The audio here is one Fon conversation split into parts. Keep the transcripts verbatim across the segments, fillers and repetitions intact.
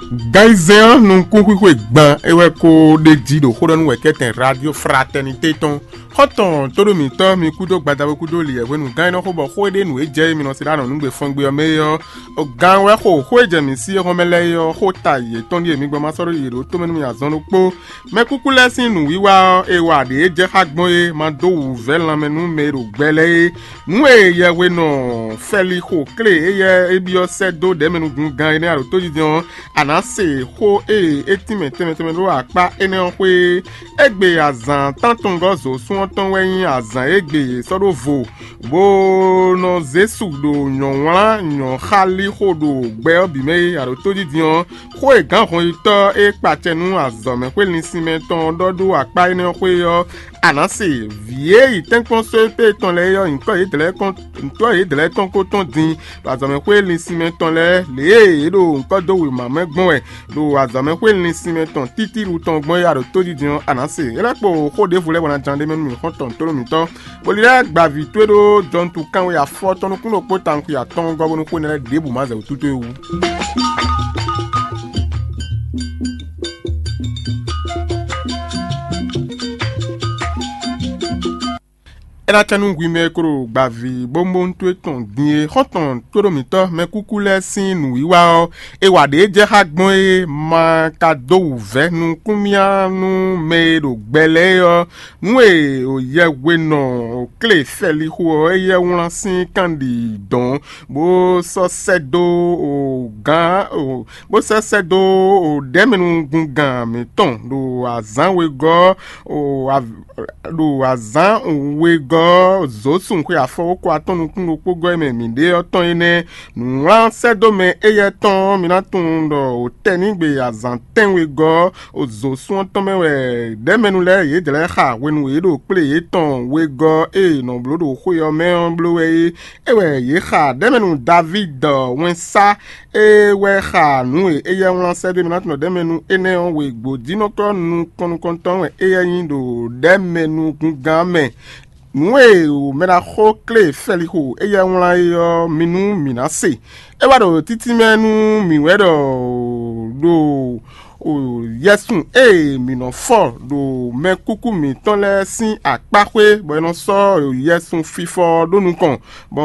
Ganyizɛ́n ɔ́ nukúnxwíxwe gban é wɛ ko ɖe jí ɖo xó ɖɔ nú wɛ̌kɛ́tɛn Radio Fraternité tɔn. Xɔ́ntɔn tóɖó mǐtɔn mi kúdó gbadabo kúdó liyɛ hwenu gán énɛ́ xó bɔ xó e ɖe nǔ e jɛ e mi nɔ se ɖó anɔ̌nugbe fɔ́ngbe ɔ́ mɛ é ɔ́, gán wɛ xo xó e jɛ mǐ sí é hɔn mɛ lɛ́ɛ é ɔ́, xó ta yětɔn ɖíe mi gbɔn ma sɔ́ ɖó yě ɖó tomɛ nú mì azɔn ɖokpó. Mɛ kúkú lɛ́ɛ sín nǔwiwa ɔ́, è wa ɖě e jɛ xá gbɔn é ma dó wǔvɛ́ lanmɛ nú mɛ e ɖo gbɛ lɛ́ɛ é. Nǔ e yɛhwenɔ Fɛlixo klé éyɛ́ é byɔ́ sɛ́ dó ɖɛ̌mɛnúgúngán énɛ́ aɖǒtójijɛ ɔ́, a nǎ se xó e é tínmɛ tɛnmɛ tɛnmɛ ɖó akpá énɛ́ ɔ́ xwé. Égbé azǎn tántɔngɔ́ zǒsún ɔ́ tɔn wɛ nyí azǎn e gbe è sɔ́ ɖó vo, bó nɔ zé su ɖo nyɔ̌wlán nyɔ̌xálíxo ɖo gbɛ ɔ́ bǐ mɛ é. Aɖǒtójijɛ ɔ́, xó e gǎnhɔnyitɔ́ e kpacɛ nú azɔ̌mɛxwé linsinmɛ tɔn ɔ́ ɖɔ ɖó akpá énɛ́ ɔ́ xwé ɔ́, a nǎ se. Vǐ e yi tɛ́nkpɔ́n sóépé tɔn lɛ́ɛ é ɔ́, nyǐkɔ yědɛɛ kɔn ntɔ́ yědɛɛ tɔn ko tɔn din ɖo azɔ̌mɛxwé linsinmɛ tɔn lɛ́ɛ, lě e yě ɖo ŋkɔ́ dó wěma mɛ gbɔn wɛ ɖo azɔ̌mɛxwé linsinmɛ tɔn títíɖu tɔn gbɔn é a ɖo tójijɛ ɔ́, a nǎ se. É lɛ́ kpo xó ɖěvo lɛ́ɛ bɔ ná ján ɖ'é mɛ nú mǐ xɔ́ntɔn tónú mǐtɔn, bó lilɛ gbaví towe ɖó jɔntu kanwe afɔ tɔn nukún ɖokpó tawun xwe atɔ́ɔ́ngɔ́ bónú xó énɛ́ lɛ́ɛ ɖěbǔ ma zɛ wǔ tútú é wú. É ná cɛ́ nú hwi mɛ e ko ɖo gbaví bómbónú towe tɔn din é, xɔ́ntɔn tóɖó mǐtɔn mɛkúkú lɛ́ɛ sín nǔwiwa ɔ́, è wa ɖě jɛ xá gbɔn é ma ka dó wǔvɛ́ nukúnmyá nú mɛ e ɖo gbɛ lɛ́ɛ é ɔ́, nú e yɛhwenɔ klé fɛlixo ɔ́ éyɛ́ wlán sín kanɖi dɔn, bó sɔ́ sɛ́ dó gǎn bó sɛ́ sɛ́ dó ɖɛ̌mɛnúgúngán mǐtɔn ɖo azǎn wegɔ́ ɖo azǎn wegɔ́ zǒsun xwe afɔwókɔ atɔ́ nukún ɖokpó gɔ́ e mɛ mǐ ɖe ɔ́ tɔn é nɛ́. Nǔwlán sɛ́ dó mɛ éyɛ́ tɔn ɔ́, mi ná tunwun ɖɔ wǒtɛ́nigbe azǎn tɛ́nwe gɔ́ zǒsun ɔ́ tɔn mɛ wɛ ɖɛ̌mɛnu lɛ́ɛ yě dlɛ̌ xa hwenu e yě ɖo kplé yětɔn wegɔ́ e è nɔ bló ɖo xwé ɔ́ mɛ ɔ́ bló wɛ é. É wɛ yě xa ɖɛ̌mɛnu Davíd wɛnsá e wɛ xa nǔ e éyɛ́ wlán sɛ́ dó mì ná tunwun ɖɔ ɖɛ̌mɛnu énɛ́ ɔ́ wegbo jínɔ́kɔ́ nukɔn nukɔntɔn wɛ éyɛ́ nyí ɖo ɖɛ̌mɛnu gungán mɛ. Nǔ e mɛɖaxó klé fɛlixo éyɛ́ wlán é ɔ́, mi nú mǐ ná se. É wá ɖo títínmɛ nú mǐ wɛ ɖɔ ɖo yɛsun e mǐ nɔ fɔ ɖo mɛkúkú mǐtɔn lɛ́ɛ sín akpáxwé, bɔ è nɔ sɔ́ yɛsun fifɔ ɔ́ ɖó nukɔn, bɔ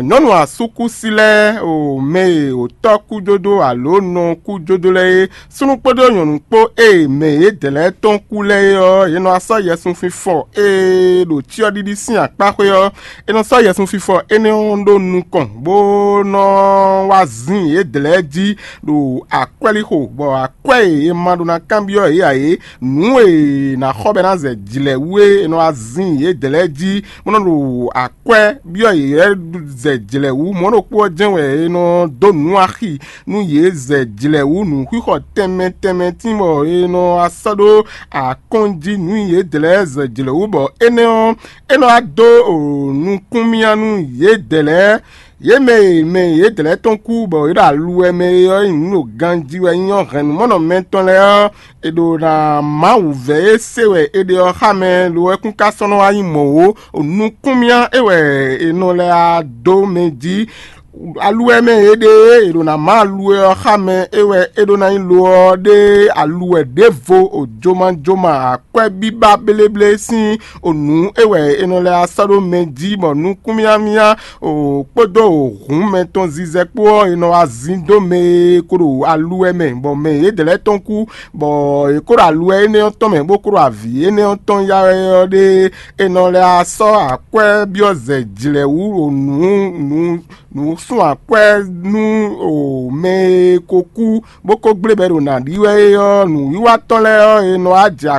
nyɔ̌nu asúkúsi lɛ́ɛ o mɛ e wǒtɔ́ kújódó alo nɔ kújódó lɛ́ɛ é, súnnu kpódó nyɔ̌nu kpó e mɛ yědɛɛ lɛ́ɛ tɔn kú lɛ́ɛ é ɔ́, è nɔ wá sɔ́ yɛsun fifɔ e ɖo cyɔ́ɖiɖi sín akpáxwé ɔ́, è nɔ sɔ́ yɛsun fifɔ énɛ́ ɔ́ ɖó nukɔn, bó nɔ wá zin yědɛɛ lɛ́ɛ jí ɖo akwɛ́lixo, bɔ akwɛ́ e è ma ɖó ná kanbyɔ́ yě ǎ é, nǔ e è nǎ xɔ bɔ é ná zɛ jlɛ̌ wú é, è nɔ wá zin yědɛɛ lɛ́ɛ jí, bó nɔ ɖo akwɛ́ byɔ́ yě zɛ jlɛ̌ wú. Mɔ̌ ɖokpó ɔ́ jɛ́n wɛ è nɔ dó nǔ axi nú yě zɛ jlɛ̌ wú nǔxixɔ tɛnmɛ tɛnmɛ tín bɔ è nɔ wá sɔ́ ɖó akɔ́n jí nú yě dlɛ̌ zɛ jlɛ̌ wú, bɔ énɛ́ ɔ́, é nɔ wá dó nukúnmyá nú yě dlɛ̌. Yě mɛ e mɛ yě dlɛ̌ tɔn kú bɔ yě ɖo aluwɛ mɛ é ɔ́ nyi nǔ ɖo ganjí wɛ nyí ɔ́ hɛ̌nnumɔnɔ mɛtɔn lɛ́ɛ ɔ́, è ɖo ná Mawu vɛ̌ e se wɛ è ɖe ɔ́ xá mɛ lo wɛ kún ka sɔ́ nɔ wá nyí mɔ̌ ó. Nukúnmyá é wɛ è nɔ lɛ́ wá dó mɛ jí. Aluwɛ mɛ e ɖe e è ɖo ná má aluwɛ ɔ́ xá mɛ é wɛ é ɖó ná nyí lo ɔ́ ɖe aluwɛ ɖěvo o jomajoma akwɛ́ bíbá bléblé sín o nǔ é wɛ è nɔ lɛ́ wá sɔ́ ɖó mɛ jí bɔ nukúnmyámyá o kpódó o hǔn mɛ tɔn zizɛ kpó ɔ́ è nɔ wá zin dó mɛ e ko ɖo aluwɛ mɛ bɔ mɛ yědɛɛ lɛ́ɛ tɔn kú, bɔ è ko ɖo aluwɛ énɛ́ ɔ́ tɔn mɛ bó ko ɖo avǐ énɛ́ ɔ́ tɔn ya wɛ ɔ́ ɖe è nɔ lɛ́ wá sɔ́ akwɛ́ byɔ́ zɛ jlɛ̌ wú o nǔ nǔ nǔ sun akwɛ́ nú o mɛ e ko kú bó ko gblé bɔ é ɖo nǎ ɖi wɛ é ɔ́, nǔwiwa tɔn lɛ́ɛ ɔ́, è nɔ wá jɛ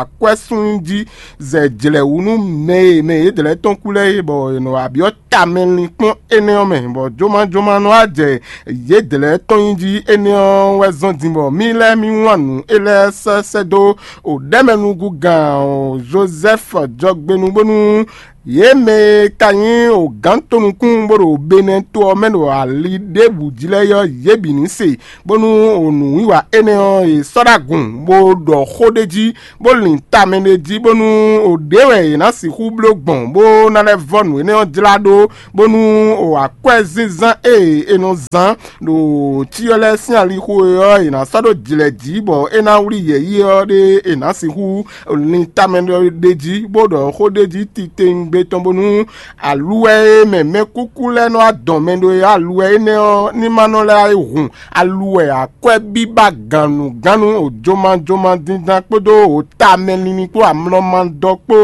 akwɛ́ sun jí zɛ jlɛ̌ wú nú mɛ e mɛ yědɛɛ lɛ́ɛ tɔn kú lɛ́ɛ é, bɔ è nɔ wá byɔ́ tamɛlinkpɔ́n énɛ́ ɔ́ mɛ, bɔ jomajoma nɔ wá jɛ yědɛɛ lɛ́ɛ tɔn nyi jí. Énɛ́ ɔ́ wɛ zɔ́n din bɔ mì lɛ́ɛ mì wlán nǔ é lɛ́ɛ sɛ́ sɛ́ dó o ɖɛ̌mɛnúgúngán Jozɛ́fu jɔgbenu bónú Yě mɛ e ka nyí ogǎntonukún bó ɖo Benɛ́ to ɔ́ mɛ ɖo ali ɖěbǔ jí lɛ́ɛ ɔ́, yě bǐ ní se, bónú o nǔwiwa énɛ́ ɔ́, è sɔ́ ɖó agun, bó ɖɔ xó ɖ'é jí, bó lin tamɛ ɖ'é jí, bónú o ɖě wɛ è nǎ sixú bló gbɔn, bó ná lɛ́ vɔ́ nǔ énɛ́ ɔ́ jlá ɖó, bónú o akwɛ́zínzán e è nɔ zán ɖo cyɔ lɛ́ɛ sín alixo e ɔ́, è nǎ sɔ́ ɖó jlɛ̌ jí, bɔ é ná wlí yɛ̌yi ɔ́ ɖé è nǎ sixú lin tamɛ ɖ'é jí, bó ɖɔ xó ɖ'é jí titewungbe tɔn, bónú aluwɛ e mɛ mɛkúkú lɛ́ɛ nɔ wá dɔn mɛ ɖó é, aluwɛ énɛ́ ɔ́ ní ma nɔ lɛ́ wá yi hun aluwɛ akwɛ́bíbá gannugánnu, òjomajoma díndan kpódó òtamɛlinlin kpó amlɔmadɔ kpó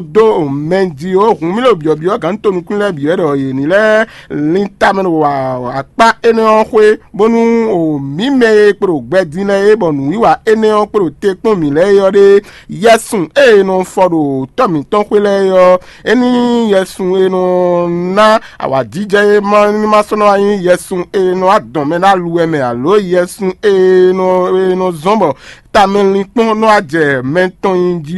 dó mɛ jí ó. Hun mì ɖo byɔ̌byɔ́ gǎn tonukún lɛ́ɛ bǐ wɛ ɖɔ yě ní lɛ́ lin tamɛ ɖo akpá énɛ́ ɔ́ xwé, bónú o mǐ mɛ e kpo ɖo gbɛ din lɛ́ɛ é, bɔ nǔwiwa énɛ́ ɔ́ kpo ɖo te kpɔ́n mǐ lɛ́ɛ é ɔ́ ɖe, yɛsun e è nɔ fɔ ɖo tɔ́ mǐtɔn xwé lɛ́ɛ é ɔ́, é ní nyí yɛsun e nɔ ná awǎjijɛ é ma ní ma sɔ́ nɔ wá nyí yɛsun e nɔ wá dɔn mɛ ɖó aluwɛ mɛ, alo yɛsun e nɔ e nɔ zɔ́n bɔ tamɛlinkpɔ́n nɔ wá jɛ mɛ tɔn nyi jí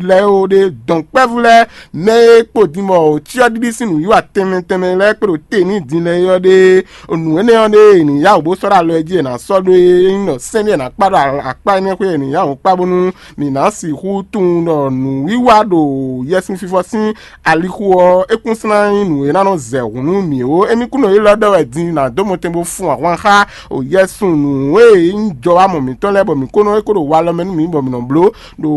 lɛ́ɛ ó ɖe. Dɔ̌nkpɛ́vú lɛ́ɛ, mɛ e kpo din bɔ cyɔ́ɖiɖi sín nǔwiwa tɛnmɛ tɛnmɛ lɛ́ɛ kpo ɖo te n'i din lɛ́ɛ é ɔ́ ɖe, nǔ énɛ́ ɔ́ ɖe è nǐ yá wǔ bó sɔ́ ɖó alɔ ɔ́ jí è nǎ sɔ́ ɖó é. É nyí ɖɔ sɛ́n ɖé è nǎ kpá ɖo akpá énɛ́ xwé è nǐ yá wǔ kpá bónú mǐ ná sixú tunwun ɖɔ nǔwiwa ɖo yɛsinfifɔ sín alixo ɔ́, é kún sɔ́ ná nyí nǔ e ná nɔ zɛ hǔn nú mǐ ó. Émí kún nɔ élɔ́ ɖɔ wɛ din ná dó mɔtɛn bó fun ahwan xá o yɛsun nǔ e nyí jɔwámɔ mǐtɔn lɛ́ɛ, bɔ mǐ kó nɔ é kó ɖo walɔ mɛ nú mǐ bɔ mǐ nɔ bló ɖo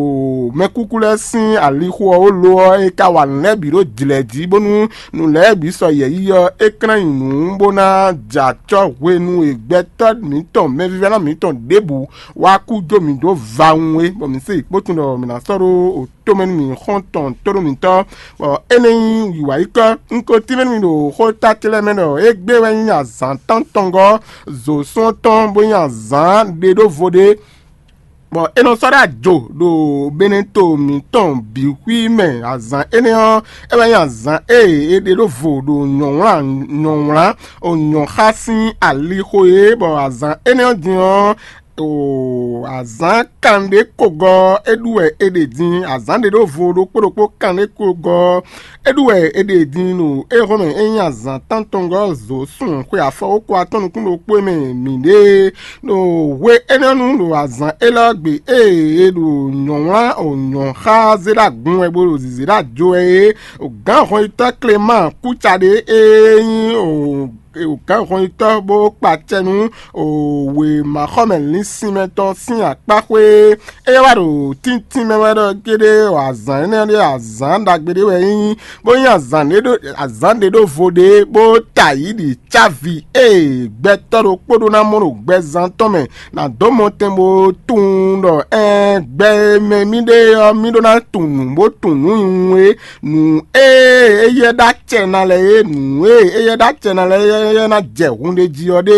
mɛkúkú lɛ́ɛ sín alixo ɔ́ ó lo ɔ́, é ka wa nǔ lɛ́ɛ bǐ ɖó jlɛ̌ jí, bónú nǔ lɛ́ɛ bǐ sɔ yɛ̌yi ɔ́, é klán nyi nǔ bó ná jɛ acɔ́ hwenu e gbɛtɔ́ mǐtɔn mɛvívɛ́ná mǐtɔn ɖěbǔ wá kú jó mǐ dó vawun é, bɔ mǐ se yi kpótun ɖɔ mǐ ná sɔ́ ɖó tomɛ nú mǐ xɔ́ntɔn tónúmǐtɔ́, bɔ é nɛ́ nyí wǐwáyíkɔ. Un ko tínmɛ nú mi ɖo xóta ce lɛ́ɛ mɛ ɖɔ égbé wɛ nyí azǎn tántɔngɔ́ zǒsún ɔ́ tɔn, bó nyí azǎn ɖe ɖó vo ɖé, bɔ é nɔ sɔ́ ɖó ajo ɖo beneto mǐtɔn bǐ xwí mɛ. Azǎn énɛ́ ɔ́, é wɛ nyí azǎn e è ɖe ɖó vo ɖo nyɔ̌wlán nyɔ̌wlán o nyɔ̌xá sín alixo é, bɔ azǎn énɛ́ ɔ́ din ɔ́, o azǎn kanɖé kogɔ́ é ɖu wɛ è ɖe din. Azǎn ɖe ɖó vo ɖokpó ɖokpó kanɖé kogɔ́ é ɖu wɛ è ɖe din ɖo éhɔ́mɛ é nyí azǎn tántɔngɔ́ zǒ sun xwe afɔwókɔ atɔ́ nukún ɖokpó e mɛ mǐ ɖe é. Ɖo hwe énɛ́ nu ɖo azǎn élɔ́ gbe ée è ɖo nyɔ̌wlán o nyɔ̌ xá zé ɖó agun wɛ bó ɖo zǐzé ɖó ajo wɛ é, o gǎn hɔnyitɔ́ Kleman kúca ɖé e nyí o gǎnhɔnyitɔ́ bó kpa acɛ nú wěmaxɔmɛ linsinmɛ tɔn sín akpáxwé. É wá ɖo tíntín mɛ wɛ ɖɔ kéɖé azǎn énɛ́ ɖé azǎn ɖagbe ɖé wɛ é nyí, bó nyí azǎn ɖé ɖo azǎn ɖé ɖó vo ɖé, bó ta yǐ ɖi cávi e gbɛtɔ́ ɖokpó ɖó ná mɔ ɖo gbɛzán tɔn mɛ ná dó mɔ tɛn bó tunwun ɖɔ ɛɛ gbɛ e mɛ mì ɖe ɔ́, mì ɖó ná tunwun bó tunwun nǔ nyumu é. Nǔ e éyɛ́ ɖó acɛ ná lɛ́ɛ é, nǔ e éyɛ́ ɖó acɛ ná lɛ́ɛ é ná jɛ hun ɖé jí ɔ́ ɖe.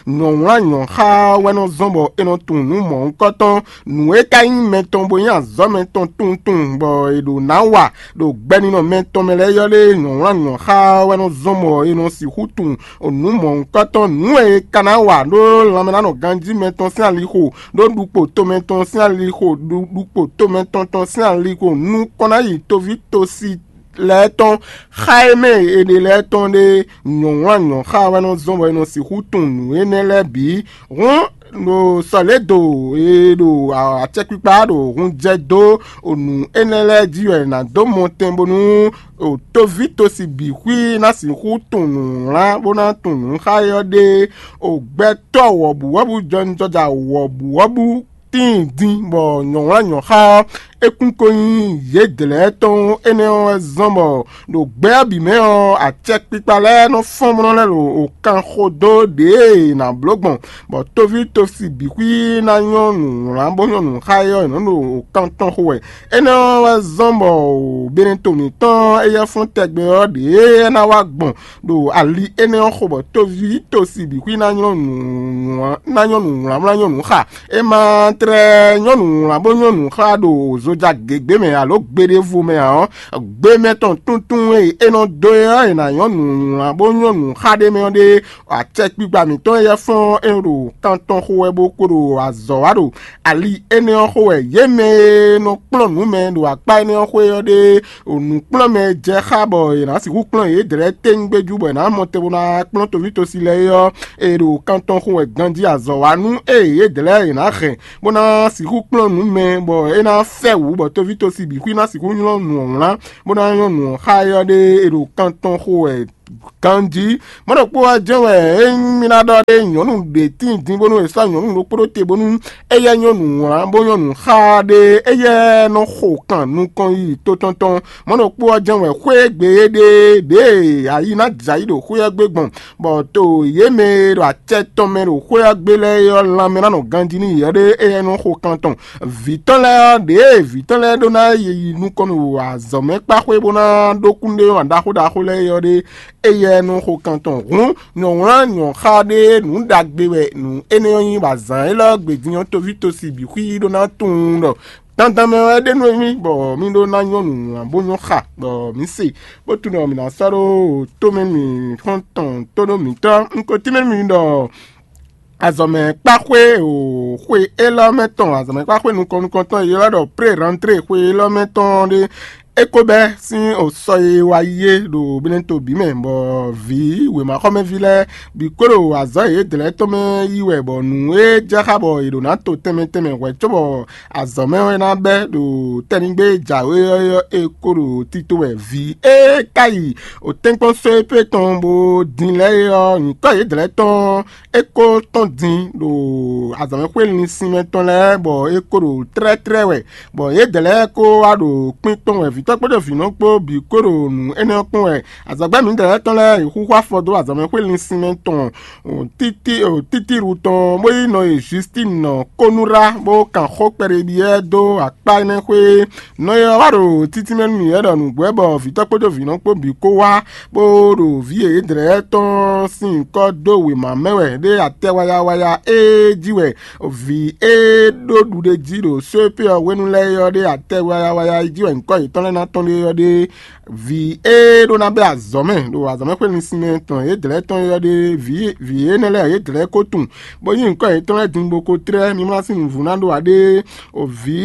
Nyɔ̌wlán nyɔ̌xá wɛ nɔ zɔ́n bɔ è nɔ tunwun nǔ mɔ̌hunkɔtɔn. Nǔ e ka nyí mɛ tɔn bó nyí azɔ̌ mɛ tɔn tunwun tunwun bɔ è ɖǒ ná wa ɖo gbɛninɔ mɛ tɔn mɛ lɛ́ɛ ɔ́ ɖe, nyɔ̌wlán nyɔ̌xá wɛ nɔ zɔ́n bɔ è nɔ sixú tunwun nǔ mɔ̌hunkɔtɔn. Nǔ e è ka ná wa ɖó lanmɛnánɔ ganjí mɛ tɔn sín alixo, ɖó ɖukpo tomɛ tɔn sín alixo, ɖu- ɖukpo tomɛ tɔn tɔn sín alixo nukɔn ná yi toví tosi lɛ́ɛ tɔn, xá e mɛ è ɖe lɛ́ɛ tɔn ɖe. Nyɔ̌wlán nyɔ̌xá wɛ nɔ zɔ́n bɔ è nɔ sixú tunwun nǔ énɛ́ lɛ́ɛ bǐ. Hǔn ɖo sɔ̌lédo e ɖo acɛkpikpa ɖo hun jɛ dó nǔ énɛ́ lɛ́ɛ jí wɛ è nǎ dó mɔ tɛn bónú toví tosi bǐ xwí ná sixú tunwun nǔwlán bó ná tunwun nǔ xá é ɔ́ ɖe. O gbɛtɔ́ wɔ̌buwɔ́bú jɔnijɔja wɔ̌buwɔ́bú tíin din bɔ nyɔ̌wlán nyɔ̌xá ɔ́, é kún ko nyí yědɛɛ lɛ́ɛ tɔn. Énɛ́ ɔ́ wɛ zɔ́n bɔ ɖo gbɛ ɔ́ bǐ mɛ ɔ́, acɛkpikpa lɛ́ɛ nɔ fɔ́n bó nɔ lɛ́ ɖo kan xo dó ɖěe è nǎ bló gbɔn, bɔ toví tosi bǐ xwí ná nyɔ́ nǔwlán bó nyɔ́ nǔ xá é ɔ́, è nɔ́ ɖo kan tɔn xo wɛ. Énɛ́ ɔ́ wɛ zɔ́n bɔ beneto mǐtɔn éyɛ́ fún tɛgbɛ ɔ́ ɖě é ná wá gbɔn ɖo ali énɛ́ ɔ́ xo bɔ toví tosi bǐ xwí ná nyɔ́ nǔ ná nyɔ́ nǔ wlánwlán nyɔ́ nǔ xa. É ma tlɛ nyɔ́ nǔ wlán bó nyɔ́ nǔ xa ɖo zoja gěgbe mɛ alo gbe ɖěvo mɛ ǎ ɔ́, gbe mɛ tɔn tuntun e é nɔ dó é ɔ́, è nǎ nyɔ́ nǔ wlán bó nyɔ́ nǔ xa ɖ'é mɛ ɔ́ ɖe. Acɛkpikpa mǐtɔn e yɛ fɔ́n é ɖo kan tɔn xo wɛ bó ko ɖo azɔ̌ wa ɖo ali énɛ́ ɔ́ xo wɛ. Yě mɛ e nɔ kplɔ́n nǔ mɛ ɖo akpá énɛ́ ɔ́ xwé ɔ́ ɖe nǔkplɔ́nmɛ jɛ xá bɔ è nǎ sixú kplɔ́n yědɛ́lɛ́ tɛ́ngbéjú bɔ è nǎ mɔ te bó ná kplɔ́n toví tosi lɛ́ɛ é ɔ́, è ɖo kan tɔn xo wɛ ganjí azɔ̌ wa nú ée yědɛ́lɛ́ è nǎ hɛn bó ná sixú kplɔ́n nǔ mɛ bɔ é ná fɛ wǔ bɔ toví tosi bǐ xwí ná sixú nylɔ́ nǔ ɔ́ wlán bó ná nyɔ́ nǔ ɔ́ xá é ɔ́ ɖe è ɖo kan tɔn xo wɛ ganjí. Mɔ̌ ɖokpó ɔ́ jɛ́n wɛ ényí mì ná ɖɔ ɖé nyɔ̌nu ɖě tíin din bónú è sɔ́ nyɔ̌nu ɖokpó ɖó te bónú éyɛ́ nyɔ́nu wlán bó nyɔ́nu xá ɖé éyɛ́ nɔ xo kan nukɔn yi to tɔn tɔn. Mɔ̌ ɖokpó ɔ́ jɛ́n wɛ xwé gbe é ɖe ɖěe ayi ná jɛ ayǐ ɖo xwé ɔ́ gbe gbɔn, bɔ to yě mɛ e ɖo acɛ tɔn mɛ ɖo xwé ɔ́ gbe lɛ́ɛ é ɔ́, lanmɛ ná nɔ ganjí n'i ɔ́ ɖé éyɛ́ nɔ xo kan tɔn. Vǐ tɔn lɛ́ɛ ɔ́, ɖěe vǐ tɔn lɛ́ɛ ɖó ná yi nukɔn ɖo azɔ̌ mɛ kpá xwé bó ná ɖó kúnɖéwá ɖaxó ɖaxó lɛ́ɛ é ɔ́ ɖé, éyɛ́ nɔ xo kan tɔn. Hǔn nyɔ̌wlán nyɔ̌xa ɖé nǔ ɖagbe wɛ nǔ énɛ́ ɔ́ nyí, bɔ azǎn élɔ́ gbe din ɔ́ toví tosi bǐ xwí ɖó ná tunwun ɖɔ dandan mɛ wɛ é ɖe nú émí bɔ mí ɖó ná nyɔ́ nǔ wlán bó nyɔ́ xa, bɔ mǐ se, bó tunwun ɖɔ mǐ ná sɔ́ ɖó tomɛ mǐ xɔ́ntɔn tónú mǐtɔn. Un ko tínmɛ nú mi ɖɔ azɔ̌mɛ kpáxwé o xwe élɔ́ mɛ tɔn, azɔ̌mɛ kpáxwé nukɔn nukɔntɔn e ylɔ́ ɖɔ pré rantré xwe élɔ́ mɛ tɔn ɖé. É ko bɛ́ sín osɔ e wa yi é ɖo Beneto bǐ mɛ, bɔ vǐ wěmaxɔmɛví lɛ́ɛ bǐ kó ɖo azɔ̌ yědɛ́ lɛ́ɛ tɔn mɛ yí wɛ, bɔ nǔ e jɛ xá bɔ è ɖǒ ná to tɛnmɛ tɛnmɛ hwɛ̌ cóbɔ azɔ̌ mɛ wɛ ná bɛ́ ɖo tɛ́nigbe e jǎwe ɔ́ é ko ɖo tito wɛ. Vǐ e ka yi otɛ́nkpɔ́n sɔ́ é pé tɔn bó din lɛ́ɛ é ɔ́, nyǐkɔ yědɛ́ lɛ́ɛ tɔn é ko tɔ́n din ɖo azɔ̌mɛxwé linsin mɛ tɔn lɛ́ɛ, bɔ é ko ɖo tlɛ́tlɛ́ wɛ, bɔ yědɛɛ lɛ́ɛ ko wá ɖo kpín kpɔ́n wɛ. Vǐtɔ́ kpódó vǐnɔ kpó bǐ ko ɖo nǔ énɛ́ ɔ́ kpɔ́n wɛ. Azɔ̌gbɛ́ mǐdɛɛ lɛ́ɛ tɔn lɛ́ɛ yi xúxú afɔ dó azɔ̌mɛxwé linsin mɛ tɔn títíɖu tɔn, bó yi nɔ e Justín nɔ kónúɖá, bó kan xó kpɛɖeɖi lɛ́ɛ dó akpá énɛ́ xwé. Nɔ e ɔ́ wá ɖo títínmɛ nú mǐ wɛ ɖɔ nǔgbó wɛ bɔ vǐtɔ́ kpódó vǐnɔ kpó bǐ kó wá, bó ɖo vǐ yědɛɛ lɛ́ɛ tɔn sín nyǐkɔ dó wěma mɛ wɛ ɖé atɛ wayawaya e jí wɛ vǐ e ɖó ɖuɖéjí ɖo só e pé ɔ́ hwenu lɛ́ɛ é ɔ́ ɖe atɛ wayawaya e jí wɛ nyǐkɔ yětɔn lɛ́ɛ ná tɔ́n ɖe é ɔ́ ɖe. Vǐ e ɖó ná bɛ́ azɔ̌ mɛ ɖo azɔ̌mɛxwé linsin mɛ tɔn yědɛɛ tɔn é ɔ́ ɖe, vǐ vǐ énɛ́ lɛ́ɛ yědɛɛ ko tunwun, bó yí nyǐkɔ yětɔn lɛ́ɛ din bó ko tlɛ́ mimlá sín nǔvú ná ɖó ǎ ɖe. O vǐ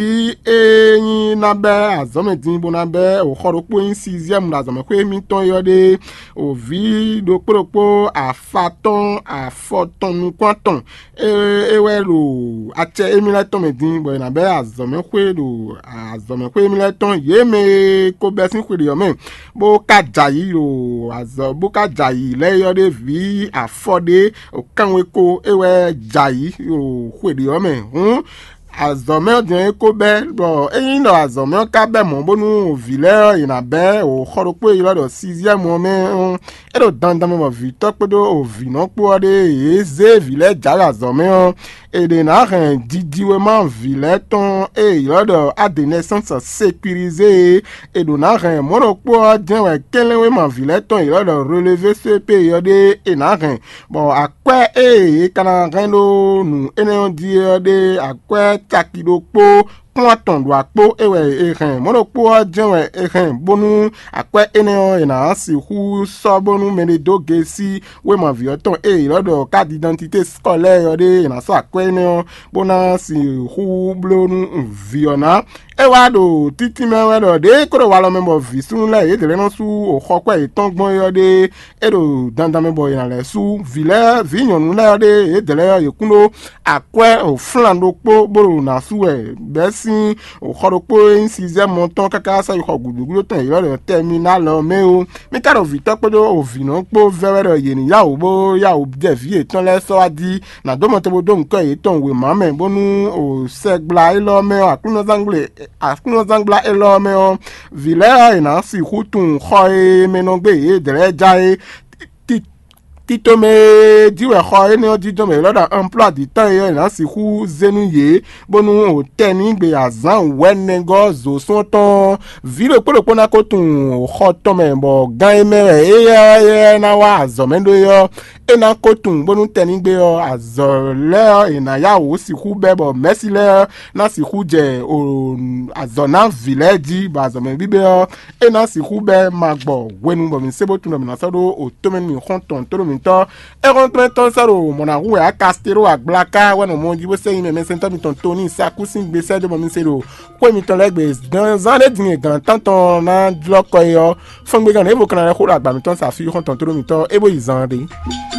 e nyí ná bɛ́ azɔ̌ mɛ din bó ná bɛ́ o xɔ ɖokpó nyí siziɛ́mu ɖo azɔ̌mɛxwé mitɔn é ɔ́ ɖe, o vǐ ɖokpó ɖokpó afa tɔn afɔ tɔn nukún atɔn, é é wɛ ɖo acɛ émí lɛ́ɛ tɔn mɛ din, bɔ è nǎ bɛ́ azɔ̌mɛxwé ɖo azɔ̌mɛxwé émí lɛ́ɛ tɔn yě mɛ e ko bɛ́ sín xwe ɖě ɔ́ mɛ, bó ka jɛ ayǐ ɖo azɔ̌ bó ka jɛ ayǐ lɛ́ɛ é ɔ́ ɖe vǐ afɔ ɖé o kanwe ko é wɛ jɛ ayǐ ɖo xwe ɖě ɔ́ mɛ. Hǔn azɔ̌ mɛ ɔ́ din ɔ́ é ko bɛ́, bɔ ényí ɖɔ azɔ̌ mɛ ɔ́ ka bɛ́ mɔ̌ bónú vǐ lɛ́ɛ ɔ́, yě ná bɛ́ o xɔ ɖokpó e ylɔ́ ɖɔ siziɛ́mu ɔ́ mɛ ɔ́, é ɖo dandan mɛ bɔ vǐtɔ́ kpódó o vǐnɔ kpó ɔ́ ɖe yě zé vǐ lɛ́ɛ jǎwe azɔ̌ mɛ ɔ́, è ɖě ná hɛn jijiwéma vǐ lɛ́ɛ tɔn e è ylɔ́ ɖɔ adenɛsɛ́nsɔ sekwirizé e è ɖǒ ná hɛn mɔ̌ ɖokpó ɔ́ jɛ́n wɛ kɛnlɛ́nwéma vǐ lɛ́ɛ tɔn e è ylɔ́ ɖɔ relevé C P ɔ́ ɖe è nǎ hɛn, bɔ akwɛ́ e è ka ná hɛn ɖó nǔ énɛ́ ɔ́ jí ɔ́ ɖe akwɛ́ caki ɖokpó kpɔ́n atɔn ɖo akpó é wɛ è hɛn. Mɔ̌ ɖokpó ɔ́ jɛ́n wɛ è hɛn, bónú akwɛ́ énɛ́ ɔ́, è nǎ sixú sɔ́ bónú mɛɖé dó gesí wéma vǐ ɔ́ tɔn e è ylɔ́ ɖɔ carte d'identité scolaire ɔ́ ɖe, è nǎ sɔ́ akwɛ́ énɛ́ ɔ́ bó ná sixú bló nú vǐ ɔ́ ná. É wá ɖo títí mɛ wɛ ɖɔ ɖěe é ko ɖo walɔ mɛ bɔ vǐ súnnu lɛ́ɛ yědɛɛ lɛ́ɛ nɔ sú xɔkwɛ́ yětɔn gbɔn é ɔ́ ɖe, é ɖo dandan mɛ bɔ è nǎ lɛ́ sú vǐ lɛ́ɛ vǐ nyɔ̌nu lɛ́ɛ ɔ́ ɖe, yědɛɛ lɛ́ɛ ɔ́ yě kún ɖó akwɛ́ flan ɖokpó bó ɖo nǎ sú wɛ bɛ́ sín xɔ ɖokpó e nyí siziɛ́mu ɔ́ tɔn káká sɔ́ yi xɔ gǔdo gúdo tɔn e è ylɔ́ ɖɔ tɛminál ɔ́ mɛ ó. Mí ka ɖo vǐtɔ́ kpódó vǐnɔ kpó vɛ́ wɛ ɖɔ yě ní yá wǔ bó yá wǔ jɛ vǐ yětɔn lɛ́ɛ sɔ́ wá jí, nǎ dó mɔ te bó dó nyǐkɔ yětɔn wěma mɛ, bónú o sɛgbla élɔ́ mɛ ɔ́, Aklúnɔzángbla Aklúnɔzángbla élɔ́ mɛ ɔ́, vǐ lɛ́ɛ ɔ́, è nǎ sixú tunwun xɔ e mɛ nɔ gbé yědɛɛ lɛ́ɛ já é. Ti- Tito mɛ e jí wɛ xɔ énɛ́ ɔ́ jínjɔ́n mɛ élɔ́ ɖo anplɔ́ adǐtɔ́ e è nǎ sixú zé nú yě, bónú o tɛnígbe azǎn wɛ̌nɛgɔ́ zǒsún ɔ́ tɔn ɔ́, vǐ ɖokpó ɖokpó ná ko tunwun xɔ tɔn mɛ, bɔ gan e mɛ wɛ éyɛ́ ná wá azɔ̌ mɛ ɖó é ɔ́, é ná ko tunwun bónú tɛnnígbe ɔ́, azɔ̌ lɛ́ɛ ɔ́, è nǎ yá wǔ sixú bɛ́ bɔ mɛ̌si lɛ́ɛ ɔ́ ná sixú jɛ azɔ̌ ná vǐ lɛ́ɛ jí, bɔ azɔ̌mɛ bíbɛ́ ɔ́, é ná sixú bɛ́ ma gbɔ hwenu bɔ mǐ se bó tunwun ɖɔ mǐ ná sɔ́ ɖó otɔ́mɛ nú mǐ xɔ́ntɔn tóɖó mǐtɔn. É xɔ́ntɔn tɔn sɔ́ ɖo mɔ̌ ná hu wɛ á Kastélo agblaka wɛ nɔ mɔ jí bó sɛ́ nyi mɛ mɛsɛntɔ́ mitɔn Toni Sakú sín gbe sɛ́ dó bɔ mi se ɖo xwé mitɔn lɛ́ɛ gbe. Zán ɖé din e gǎn tántɔn ná jlɔ́ kɔ é ɔ́, fɔ́ngbégán ɖěvo ka ná lɛ́ xó ɖo agba mitɔn sa fí xɔ́ntɔn tóɖó mitɔn é bó yi zan ɖé.